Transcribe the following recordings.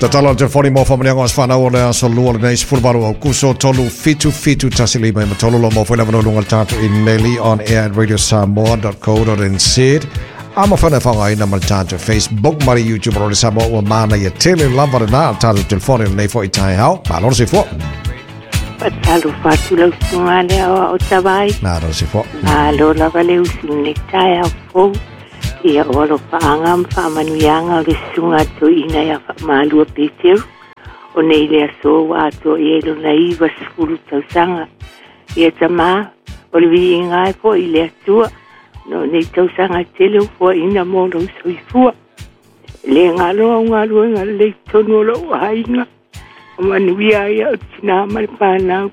Tatalo le telefoni mo whamanianga o aswhanau o le aso lua le nei 18 Aukuso 3 7 7 1 5 ma tolu lo mo whaila vano lunga le tātou emaili on air at radiosamoa.co.nz. A ma whana whanga ina ma le tātou Facebook ma le YouTube o le Samoa ua mana ia tele lava le nā tātou telefoni le nei fo i tai hao. Malo se fua. Faatalofa atu lau susuga le aoao Tavai. Malo se fua. Malo lava le usu i lenei taeao fou. Ia o alofaaga ma faamanuiaga o le susuga a Toeaina ia Faamalua Peteru. O nei le aso ua atoa i ai lona 90 tausaga. Ia tamā, o le viiga e fo'i i le Atua, no nei tausaga e tele ua foaina mo lou soifua. E le galo au galuega lelei tonu o lou aiga, o manuia ai au tinā ma le fanau.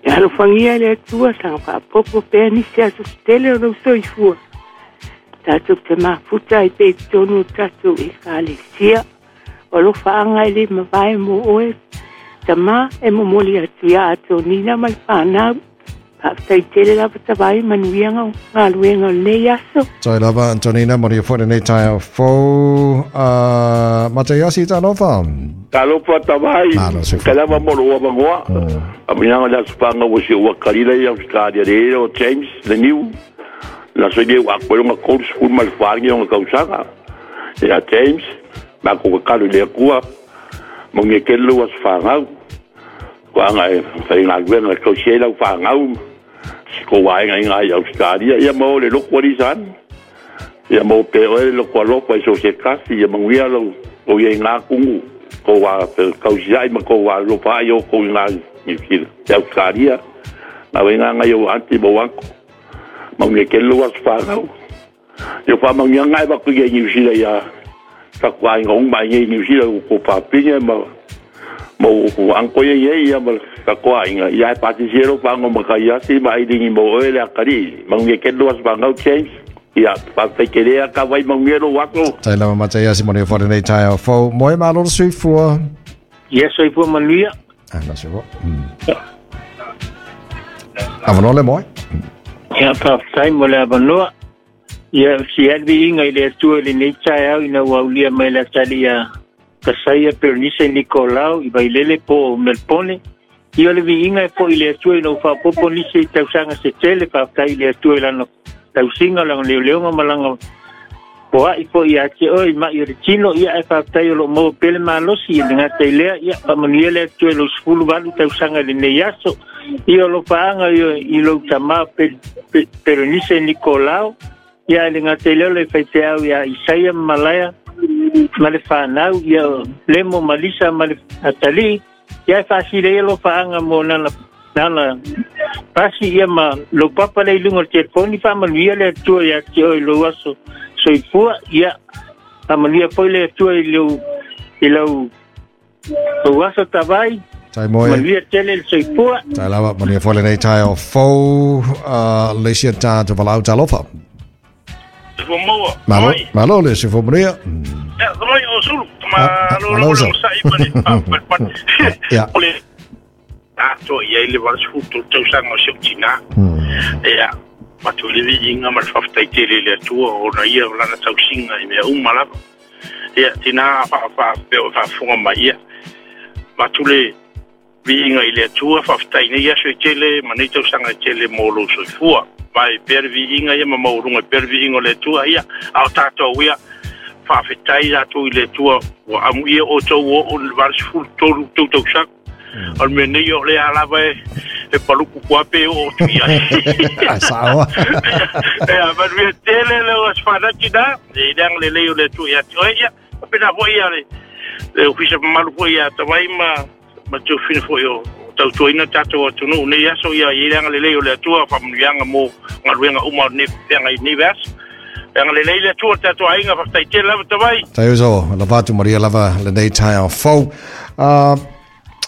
E alofagia e le Atua, saga faapopo pea nisi aso tele o lou soifua. Tatou te mafuta ai pea i totonu o tatou Ekalesia. O alofaaga e le mavae mo oe, tamā, e momoli atu iā Atonina ma le fanau. Faafetai tele lava Tavai, manuia galuega o lenei aso. Tai lava Antonina, manuia foi lenei taeao fou. Mataiasi, talofa. Talofa Tavai, Malo se kai lava mo lou avanoa. Aminaga le aso whanga ua si ua kalila i Australia le ea o James le niu. Na so i ua ako longa kolu sefulu ma le whaangi o nga kausaga. Ia James, ma ko ka kalu le akua, mo nge kele ua aso whangau. Ko anga e whai ngā luenga kau si lau whangau. Si ko waenga i ngā i Australia. Ia mo le loku ali san. Ia mo pe oe le loku alofa i so se kasi. Ia manguia lau o ia i ngā kungu. Ko wā kau si ai ma ko wā lopa ai o ko i ngā i Australia. Ngā wai ngā ngai o anti mo wanko. Maungia ke lua aso whangau. Ia wha maungia ngai waku ia i New Zealand ia taku ainga unga i New Zealand ko pāpinga ma mo ko anko ia ia ia ma ka ainga ia e pati sero whango ma kai asi ma ai ringi mo oe le akari. Maungia ke lua aso whangau James. Ia whawhai ke rea ka wai maungia lo wako. Tai lava Mataiasi manuia foi lenei taeao fou. Moe malo le soifua. Ia soifua manuia. Ah, na soifua. Avanoa le moe. Ia faafetai mo le avanoa. Ia si alviiga i le Atua i lenei taeao ina ua aulia mai le atalii ia Kasaia Peronise Nikolao i Vailele po o Melpone. Ia o le viiga e fo'i i le Atua ina ua faaopoopo nisi i tausaga se tele faafetai i le Atua i lana tausiga, lana leoleoga ma lana poa'i fo'i ia te oe i ma'i o le tino. Ia ae faafetai o loo maua pea le malosi i le gata i lea. Ia faamanuia le Atua i lou 18 tausaga i lenei aso. Ia o lofaaga i lou tamā Peronise Nikolao. Ia ae le gata i lea o le faifeau ia Isaia ma Malaia ma le fanau, ia Lemo ma Lisa ma le atalii. Ia e faasila ia lofaaga mo nana nana pasi ia ma lou papa le i luga o le telefoni. Faamanuia le Atua ia te oe i lou aso soifua. Ia faamanuia foi le Atua i lou i lau lou aso Tavai. Tai moe. Manuia tele le soifua. Tai lava, manuia foi lenei taeao fou. Le isi a tātou valaau talofa. Soifua maua. Malo, Mai. malo le soifua manuia. Ia, mai o sulu. Ah, Ma lo malo lo sa. lo sa i mani. Ah, pa pa. Ia. O le ato i ai le 83 tausaga o si ou tinā. Ia, matu i le viiga ma le faafetai tele i le Atua ona ia o lana tausiga i mea uma lava. Ia, tinā faa pea o faafofoga mai ia. Matu le viiga i le Atua, faafetai nei aso e tele ma nei tausaga e tele mo lou soifua. Mai pea le viiga ia ma maualuga pea le viiga o le Atua ia, a o tatou ia, faafetai tatou i le Atua ua amuia outou oo i le 83 tou tausaga. O le mea nei o lea lava e paluku kuape o atu i ai. Ai saoa. Ia, manuia tele le o aso tina, e leanga le lei o le Atua ia te oe ia. Pena foi ia le ofisa mamalu foi ia Tavai ma te ofina foi o tautuaina tatou atunuu nei aso ia i leanga le lei o le Atua faamanuiaga mo galuega uma o nei feaga i nei vaiaso. Leanga le lei le Atua tatou aiga faafetai tele lava Tavai. Tai uso, lava atu Maria lava lenei taeao fou.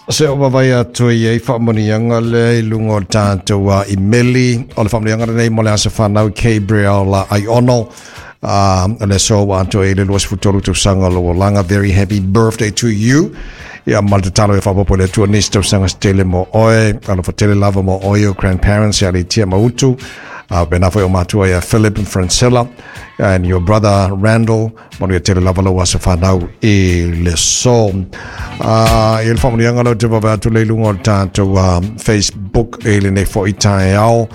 Se o vavai atu i ei whaamanianga le i lunga o tātou i meli o le whaamanianga nei mo le asa whanau Gabriel Aiono. Le so wa atu e le 23 tausaga lo langa. Very happy birthday to you. Ia ma le tatalo e whaapopo le Atua nisi tausaga se tele mo oe, alofa tele lava mo oe o grandparents ia le tia mautu. Pena foi o matua ia Philip and Francella and your brother Randall. Manuia tele lava lau aso whanau i le so. I le whamunianga lau te wawe atu le lunga o le tātou Facebook e le nei fo i tae ao.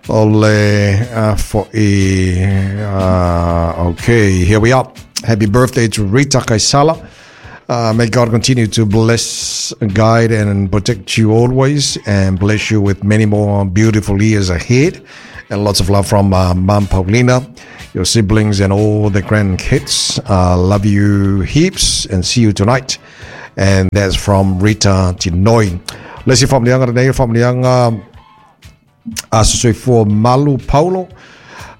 O le fo i... Okay, here we are. Happy birthday to Rita Kaisala. May God continue to bless, guide, and protect you always, and bless you with many more beautiful years ahead. And lots of love from Mum Paulina, your siblings, and all the grandkids. Love you heaps, and see you tonight. And that's from Rita Tinoi. Let's see from the younger from the young Asosoifua Malu Paulo.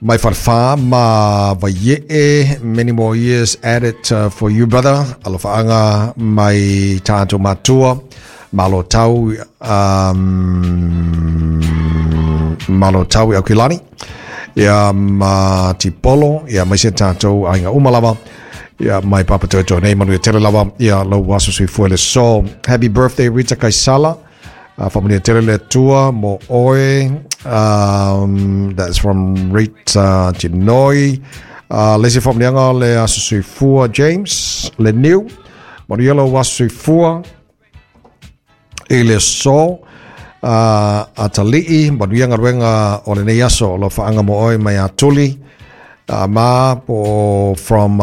Mai wharwha ma vaie'e, many more years added for you, brother. Alofaanga mai tātou matua, malo tau, malo tau i Aukilani. Ia ma Tipolo, ia mai se tātou ainga umalava. Ia mai papa toto nei manu e tele lava. Ia lau waso sui fuele so. Happy birthday Rita Kaisala. Whamanuia tele le tua mo oe. That's from Rita Tinoi. Lesi whamunianga le aso soifua James le niu. Manuia lau aso soifua i le so. Atalii, manuia ngaruenga o le nei aso o lo whaanga mo oe mai atuli. Ma po from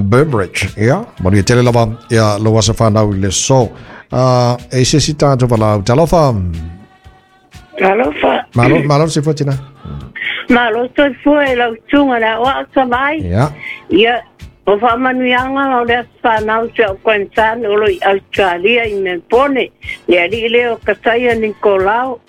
Burbridge. Yeah. Manuia tele lava ia lau aso whanau i le so. E se si tātou walau. Talofa. Talofa. Malo, malo se fuatina. Malo toi fua e lau tunga na oa o mai. Yeah. Ia, o whaamanuianga o le whanau te o Kwanzan o lo i Australia i Melbourne. Le ali leo Kasaia Nicolau.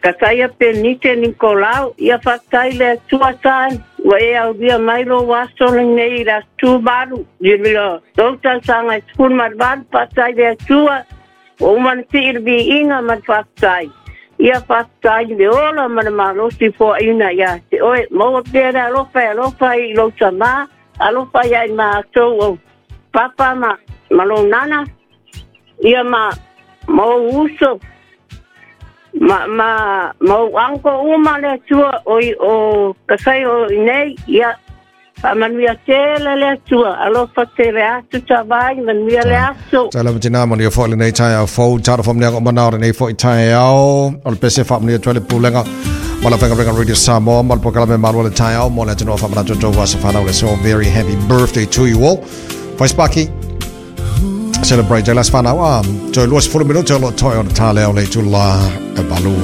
Kasaia Penite Nicolau. Ia whatai le atua saan. Ua e au via mai lo waso nei la tu malu. Ia lo tau sanga i marvalu whatai le atua. O umana ti irbi inga man whatai. Ia whatai le ola mana malosi fo ina ia te oe. Maua pera alofa i lo tama. Alofa ia i mātou o papa ma malo nana. Ia ma mau uso. Ma mau anko uma le atua o o kasai o nei. Ia manuia tele le atua. Alofa tele atu tawai, manuia le aso. Tala matina manuia fo le nei tai au fo. Tara fo mnea mana o nei fo i tai au. O le pese fa mnea tuele pulenga. Mala whenga renga Radio Samoa. Mala pokala me marua le tai au. Mo le atunua fa mana toto wasa whanau le so. Very happy birthday to you all. Faispaki. Celebrate te las whanau. Toi luas fulu minuto lo toi o le tā leo le tula e balu.